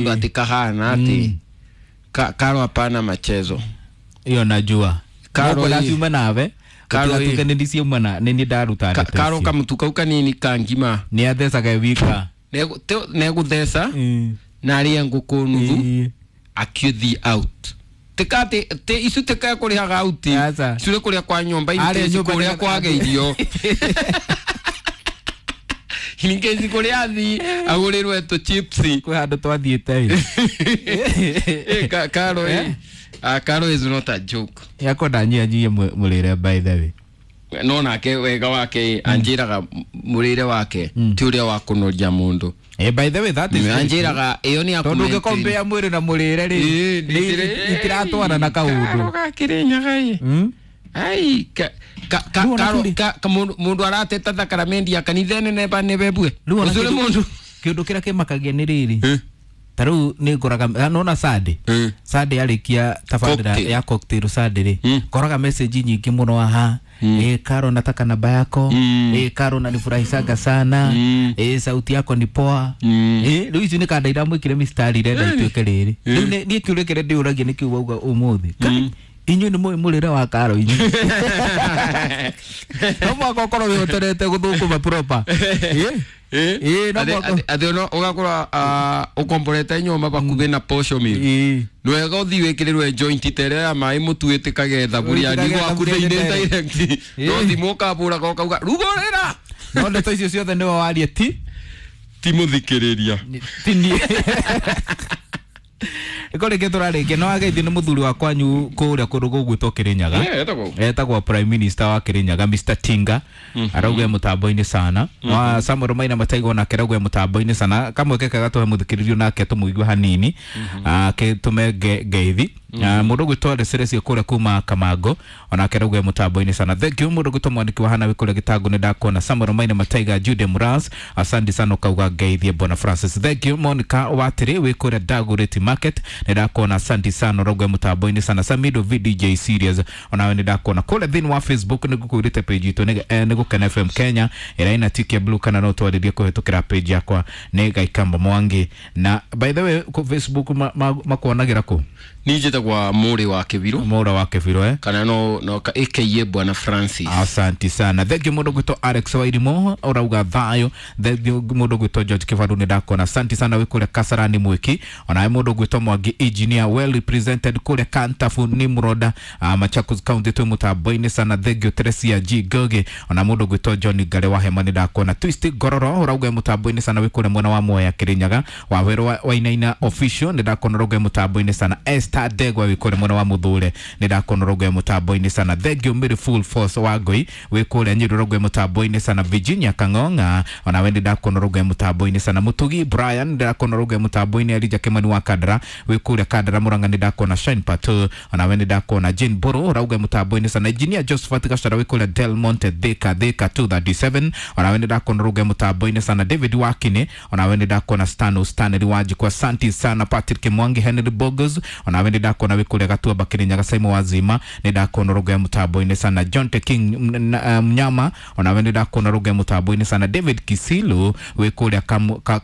Ati kahana ati Karo hapana machezo. Iyo najua. Karo Karo hii. ciuma nawe. Karo hii. Gũtigatuĩke nĩ ciauma na nĩ niĩ ndaruta ndeto Karo icio. kamutu kau kanini kangima. Nĩ athecaga wika. Negutheca na arie ngũkũ nuthu akiuthi out. Tikati te icu tikae kurihaga out. Aca. Icu nĩ kũrĩa kwa nyũmba Arĩa ici nyũmba kũrĩa nĩ- kwaga irio. Ningĩ ici kũrĩa athi agũrĩrwe tũ chips. Kwĩ handũ twathiĩte ĩ. Karo eh. Ah, Karo is not a joke. Yakwa ndanyihanyihia mũrĩre by the way. No nake wega wake anjĩraga mũrĩre wake ti ũrĩa wa kũnoria mũndũ. By the way, that is Anjĩraga ĩyo nĩ ya tondũ kũ-maintain. ũngĩkombea mwĩrĩ na mũrĩre rĩ Ĩĩ, itiratwarana Karo kaũndũ. gakĩrĩ nyaga ĩ. Ai Rĩu ona Karo kũrĩ- mũndũ arateta thakaramendi ya kanitha nene ba nĩ bebue. Rĩu ona Ũcio nĩ kĩndũ- mũndũ. kĩũndũ kĩrĩa kĩmakagia nĩ rĩrĩ ta rĩu nĩ ngoraga nona Sunday Sunday arĩkia tabarĩra Cocktail. ya cocktail Sunday rĩ ngoraga message nyingĩ mũno aha. Karo, nataka namba yako. Karo, nanifurahishaga sana. Sauti yako ni poa. Rĩu icio nĩ kanda iramwĩkire mistari irenda ituĩke rĩrĩ. Rĩu niĩ kĩũria kĩrĩa ndĩũragia nĩ kĩu wauga ũmũthĩ. Kai, inyuĩ nĩ mũĩ mũrĩre wa Karo inyuĩ? No mũhaka ũkorwo wĩhotorete gũthũkũma proper. Ĩĩ, no mũhaka. Atĩ ona ũgakora ũkomborete nyũmba bakuhĩ na posho mill. Nwega ũthiĩ wĩkĩrĩrwe joint ta ĩrĩa ya maĩ mũtu ĩtĩkage thaburia Ĩtĩkage gwaku thaburia thĩinĩ nĩ direct. No thimũ ũkabũraga ũkauga rugũrĩra. No ndeto icio ciothe nĩwe warie ti Ti mũthikĩrĩria. Ti niĩ. Ĩko rĩngĩ tũrarĩkia no ageithi nĩ mũthuri wa kwanyu kũrĩa kũndũ gũgwĩtwo Kĩrĩnyaga. Yeah, etagwo. Etagwo prime minister wa Kĩrĩnyaga, Mr Tinga, arauga e mũtambo-inĩ sana. Wa Samuel Maina Mataigo nake arauga e mũtambo-inĩ sana. Kamweke kega tũhe mũthikĩrĩrio nake tũmũigue hanini tũme ngeithi. Mũndũ ũgwĩtwo Reserecio kũrĩa kuma Kamango onake arauga e mũtambo-inĩ sana. Thank you. Mũndũ ũgwĩtwo mwandĩki wa hana wĩ kũrĩa Gĩtangũ nĩ ndakuona. Samuel Maina Mataiga, Jude Muras, asante sana. Ũkauga ngeithie Bwana Francis. Thank you. Monica Watĩrĩ wĩ kũrĩa Dagoretti Market nĩ ndakuona, asante sana, ũrauga e mũtambo-inĩ sana. Samido VDJ series onawe nĩ ndakuona kũrĩa thĩinĩ wa Facebook. Nĩ ngũkwĩrĩte page itũ nĩ Gũkena FM Kenya ĩrĩa ĩna tick ya blue, kana no twarĩrie kũhĩtũkĩra page yakwa nĩ Gaikamba Mwangi. Na by the way, kũ Facebook makuonagĩra kũ? Niĩ njĩtagwo Mũrĩ wa Kĩbirũ. Mũra wa Kĩbirũ, eh? Kana no aka Bwana Francis. Asante sana, thank you. Mũndũ gwĩtwo Alex Wairimo ũrauga thayũ. Thank you. Mũndũ gwĩtwo George Kĩbaru nĩ ndakuona, asante sana, wĩ kũrĩa Kasarani Mwĩki. Onawe mũndũ gwĩtwo Mwangi engineer, well represented kũrĩa Kantafu Nimroda, Machakos County, twĩ mũtambo-inĩ sana. Thank you. Teresia G Goge, ona mũndũ gwĩtwo John Ngare wa Hema nĩ ndakuona. Twist Ngororo ũrauga mũtambo-inĩ sana, wĩ kũrĩa mwena wa Mwea Kĩrĩnyaga. Wawerũ Wainaina official nĩ ndakuona, ũrauga mũtambo-inĩ sana. Esther Ndegwa wĩ kũrĩa mwena wa Mũthũre nĩ ndakuona, ũrauga mũtambo-inĩ sana. Thank you. Mary Full Force wa Ngoi wĩ kũrĩa Nyĩrĩ ũrauga mũtambo-inĩ sana. Virginia Kang'ong'a onawe nĩ ndakuona, ũrauga mũtambo-inĩ sana. Mũtugi Brian nĩ ndakuona, ũrauga mũtambo-inĩ. Elijah Kimani wa Kandara wĩ kũrĩa Kandara Mũrang'a nĩ ndakuona. Shine Pato onawe nĩ ndakuona. Jane Mbũrũ ũrauga mũtambo-inĩ sana. Engineer Josephat Gachara wĩ kũrĩa Del Monte Thika, Thika 237, onawe nĩ ndakuona, ũrauga mũtambo-inĩ sana. David Wakini onawe nĩ ndakuona. Stano Stanley Wanjikwa, asante sana. Patrick Mwangi, Henry Bogos onawe nĩ ndakuona wĩ kũrĩa Gatuamba Kĩrĩnyaga. Simon Wazima nĩ ndakuona, ũrauga mũtambo-inĩ sana. John T King Mnyama onawe nĩ ndakuona, ũrauga mũtambo-inĩ sana. David Kisilu wĩ kũrĩa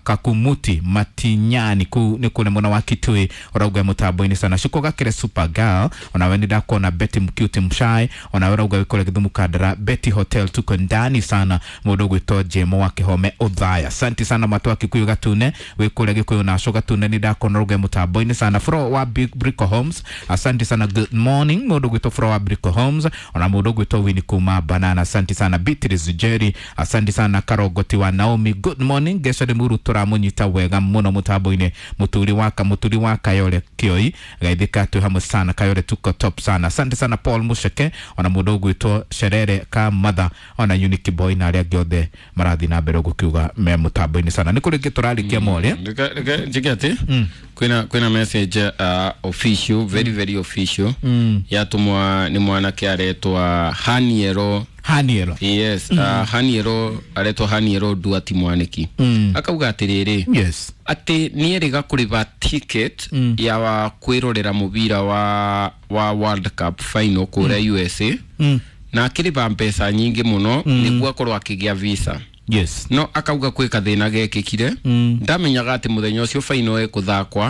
Kakumuti Matinyani, kũu nĩ kũrĩa mwena wa Kitui, ũrauga mũtambo-inĩ sana. Shuko Gakire Super Girl onawe nĩ ndakuona. Betty Mcute Mshai onawe ũrauga wĩ kũrĩa Gĩthumo Kandara, Betty Hotel, tuko ndani sana. Mũndũ ũgwĩtwo Jemo wa Kĩhome Ũthaya, asante sana. Matũ wa Kikuyu Gatune wĩ kũrĩa Gĩkũyũ Naco Gatune nĩ ndakuona, ũrauga mũtambo-inĩ sana. Fro wa Big Brico Homes, asante sana, good morning. Mũndũ ũgwĩtwo Fro wa Brico Homes, ona mũndũ ũgwĩtwo Winnie kuma Banana, asante sana. Beatrice Jerry, asante sana. Karogoti wa Naomi, good morning. Gesho nĩ mũru tũramũnyita wega mũno mũtambo-inĩ. Mũturi wa Kayore Kĩoi gaithĩka, twĩ hamwe sana. Kayore tuko top sana, asante sana. Paul Musheke, ona mũndũ ũgwĩtwo Sherere ka Mother, ona Unique Boy na arĩa angĩ othe marathiĩ na mbere gũkiuga me mũtambo-inĩ sana. Nĩ kũrĩ ngĩ tũrarĩkia more. Reke njĩke atĩ kwĩna message official, very very official, yatumwa nĩ mwanake aretwa Haniero. Haniero. Yes, Haniero aretwa Haniero Duati Mwaniki. Akauga atĩrĩrĩ atĩ nĩerĩga kũrĩba ticket ya wa kwĩrorera mũbira wa World Cup final kũrĩa USA, na akĩrĩba mbeca nyingĩ mũno nĩguo akorwo akĩgĩa visa. Yes. No akauga kwĩ kathĩna gekĩkire, ndamenyaga atĩ mũthenya ũcio final ĩkũthakwa.